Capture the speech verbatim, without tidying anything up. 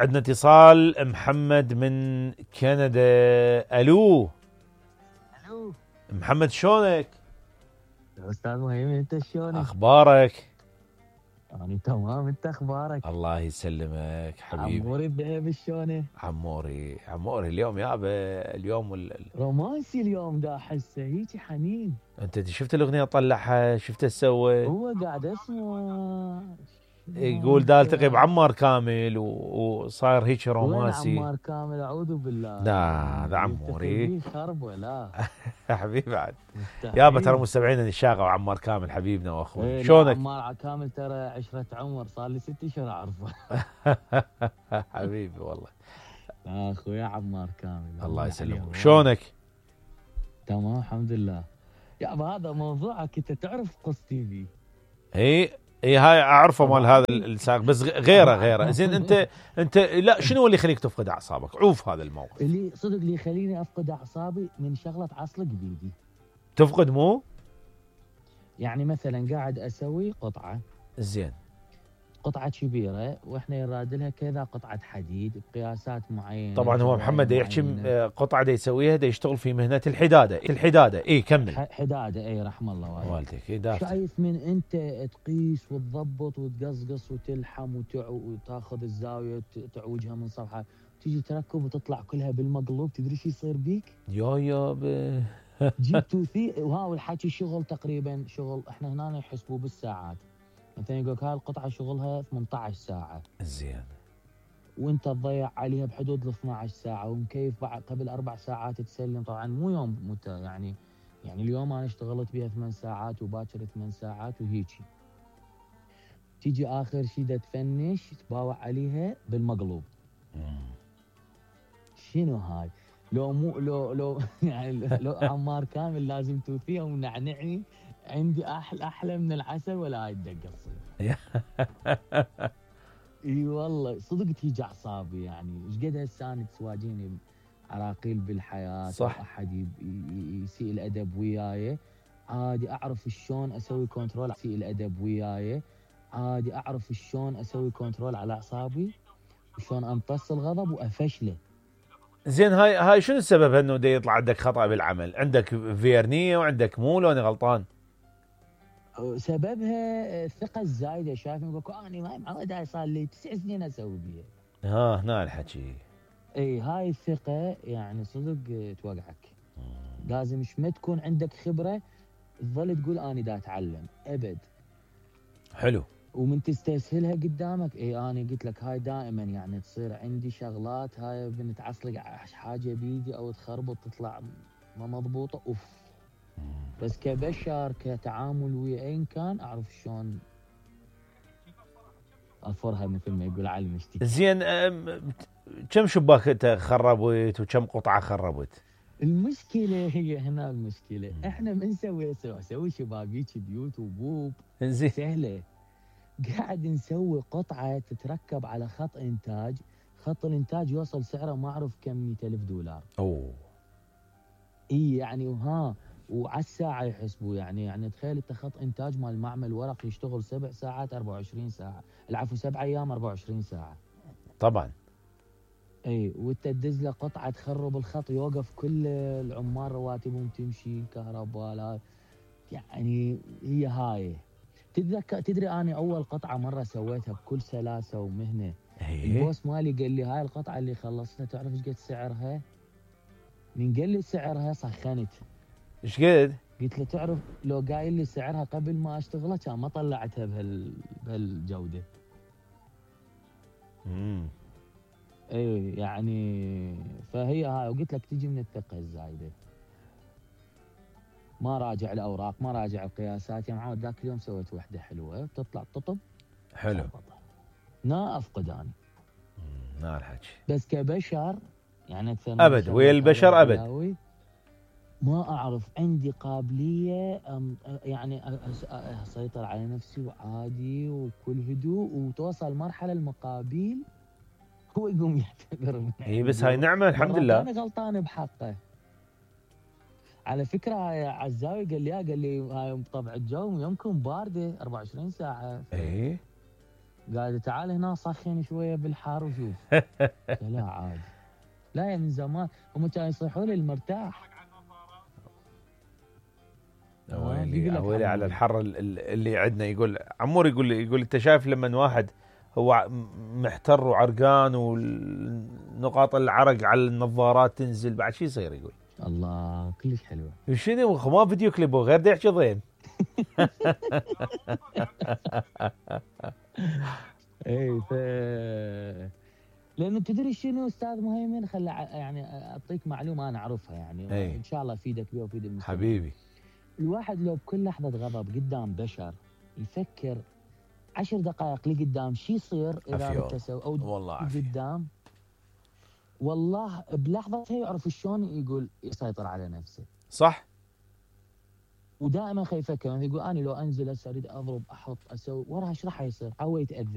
عندنا اتصال محمد من كندا. الو الو محمد، شلونك؟ استاذ مهيمن، انت شلونك؟ اخبارك؟ انا تمام، انت اخبارك؟ الله يسلمك حبيبي. عموري الذهبي شلونه؟ عموري عموري اليوم يابا اليوم ال... رومانسي اليوم، دا احسه هيجي حنين. انت شفت الاغنيه طلعها؟ شفت ايش سوى؟ هو قاعد اسمع يقول دا التقي بعمار كامل و... وصاير هيك رومانسي. وين عمار كامل؟ اعوذ بالله. لا هذا عموري خرب ولا حبيبي بعد يابا، ترى مستمعين الشاغه وعمار كامل حبيبنا واخونا. ايه شلونك؟ عمار كامل ترى عشرة عمر، صار لي ست اشهر اعرفه. حبيبي والله. اخويا عمار كامل الله يسلمك. شلونك؟ تمام الحمد لله. يابا هذا موضوعك، انت تعرف قص تي في؟ اي اي هاي اعرفه مال هذا الساق، بس غيره غيره. زين انت انت لا شنو اللي يخليك تفقد اعصابك؟ عوف هذا الموقف. اللي صدق اللي يخليني افقد اعصابي من شغله عصلق بيدي. تفقد مو؟ يعني مثلا قاعد اسوي قطعه، زين، قطعه كبيره واحنا يراد لها كذا قطعه حديد بقياسات معينه. طبعا هو محمد يحكي قطعه دا يسويها، دا يشتغل في مهنه الحداده. الحداده اي كمل. حداده اي رحم الله والديك. والديك اي دافت. شايف من انت تقيس وتضبط وتقصقص وتلحم وتع... وتاخذ الزاويه تعوجها من صفحه، تيجي تركب وتطلع كلها بالمقلوب، تدري شو يصير بيك؟ يا يا ب... جيب توثيق. وها الحكي شغل تقريبا شغل احنا هنا يحسبوه بالساعات. مثلا يقول لك هاي القطعه شغلها ثمانية عشر ساعه. زين. وانت تضيع عليها بحدود ال اثنتي عشرة ساعه، ومكيف بعد قبل اربع ساعات تسلم. طبعا مو يوم مت يعني يعني اليوم انا اشتغلت بها ثمان ساعات وباكر ثمان ساعات وهيجي. تيجي اخر شيء دا تفنش تباوع عليها بالمقلوب. شنو هاي؟ لو مو لو لو يعني لو عمار كامل لازم توفيها ونعنعني. عندي احلى احلى من العسل ولا هاي الدقه تصير. اي والله صدق تيجي اعصابي. يعني ايش قد هسه انا تواجهني عراقيل بالحياه، صح. احد يسيء الادب وياي عادي اعرف شلون اسوي كنترول. يسيء الادب وياي عادي اعرف شلون اسوي كنترول على اعصابي وشلون امتص الغضب وافشله. زين هاي هاي شنو السبب انه دا يطلع عندك خطأ بالعمل؟ عندك فيرنية وعندك مو، لو انا غلطان؟ سببها الثقة الزايدة. شايف يقول انا ما معود، هاي صار لي تسع سنين اسوي بيها. ها هنا الحكي. اي هاي الثقة يعني صدق توقعك. لازم مش ما تكون عندك خبرة تظل تقول انا دا اتعلم ابد. حلو. ومن تستسهلها قدامك. اي انا قلت لك هاي دائما يعني تصير عندي شغلات هاي بنتعصلق حاجة بيدي او تخربط تطلع ما مضبوطة اوف. بس كبشر كتعامل ويا اين كان اعرف شلون اظفرها مثل ما يقول علي المشتكي. زين كم شباك انت خربت وكم قطعه خربت؟ المشكله هي هنا المشكله. احنا من نسوي نسوي شبابيك بيوت وبوب زين سهله. قاعد نسوي قطعه تتركب على خط انتاج. خط الانتاج يوصل سعره ما اعرف كم مئة ألف دولار. اوه. اي يعني وها وعلى الساعه يحسبوا. يعني يعني تخيل انت خط انتاج مال معمل ورق يشتغل سبع ساعات أربعة وعشرين ساعه. العفو سبع ايام أربعة وعشرين ساعه. طبعا. اي وانت تدز له قطعه تخرب الخط، يوقف كل العمال رواتبهم تمشي، كهرباء لا. يعني هي هاي. تتذكر تدري انا اول قطعه مره سويتها بكل سلاسه ومهنه. البوس مالي قال لي هاي القطعه اللي خلصتها تعرف ايش قد سعرها؟ من قال لي سعرها سخنت. ايش قد؟ قلت له تعرف لو قايل لي سعرها قبل ما اشتغلها كان ما طلعتها بهال بهالجوده. امم اي يعني فهي هاي. وقلت لك تجي من الثقه الزايده. ما راجع الاوراق، ما راجع القياسات. يا معود ذاك اليوم سويت وحده حلوه بتطلع تطب حلو. نا افقد انا. نا الحكي. بس كبشر يعني ابد ويا البشر ابد ما اعرف عندي قابليه يعني اسيطر على نفسي وعادي وكل هدوء وتوصل مرحله المقابيل هو يقوم يعتذر مني. اي بس هاي نعمه الحمد لله. انا غلطان بحقه. على فكره هاي عزاوي قال لي قال لي هاي طبع الجو يمكن بارده أربعة وعشرين ساعه. اي قال تعال هنا سخن شويه بالحار وشوف. لا عادي، لا يا من زمان هم كانوا يصيحوا لي المرتاح. ويلي ويلي على الحر اللي عندنا. يقول عمور، يقول يقول انت شايف لما واحد هو محتر وعرقان ونقاط العرق على النظارات تنزل بعد شو يصير؟ يقول الله كلش حلوه. شنو ما فيديو كليب غير دا يحكي ضين. اي ف لانه تدري شنو استاذ مهيمن، خلى يعني اعطيك معلومه انا اعرفها يعني أي. ان شاء الله افيدك بها وافيد المستمعين. حبيبي، الواحد لو بكل لحظه غضب قدام بشر يفكر عشر دقائق لقدام شو يصير اذا ارتسوا او والله قدام، والله بلحظتها يعرف شلون يقول يسيطر على نفسه. صح. ودائما خي يفكر، يعني يقول انا لو انزل هسه اريد اضرب احط اسوي وراها ايش راح يصير؟ هو يتاذى.